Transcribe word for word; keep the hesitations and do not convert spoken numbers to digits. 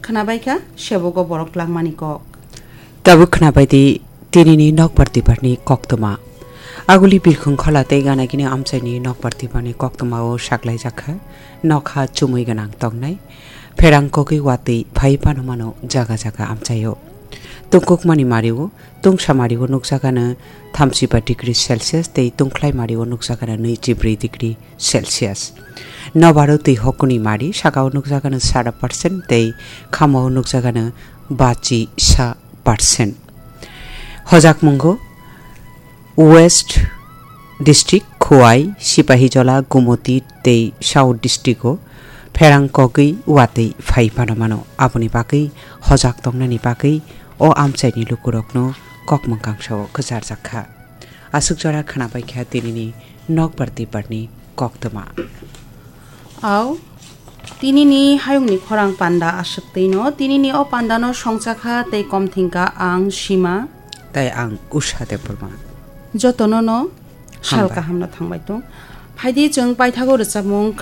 Khwnabaikha sebogo borok langmani kok. Tabuk khwnabaidi tinini nokbar tibarni koktwma. Aguli birkhung khola tei ganagini amchaini nokbar tibarni koktwmao saklaijakha nokha chumui gwnang tongnai. Pherang kogwi watwi phai phano mano jaga jaga amchaio. Tungkukmani mario, tungsa mario nukjagano thamsiba degree Celsius tei tungkhlai mario nukjagano nwichibrwi degree Celsius. Nobaro twi hokuni mari sakao nukjagano sada percent tei khamao nukjagano bachi sa percent. Hojakmungo West District, Khowai, Sipahijola, Gumoti tei South District-o pherang kogwi watwi phai phano mano. Aboni bagwi hojak tongnani bagwi o amchaini lukurokno kokmwng kangsao kwcharjak kha. Aswk jora khwnabaikha tinini nokbar tibarni koktwma. Au, tinini hayungni khorang panda aswk twino, tinini o pandano songchakha tei komthingkha ang Sima. Tai ang Usha Debbarma. Jotono no sal Hambai. Kahamno thangbai tong. Phaidi chwng paithago rwchapmung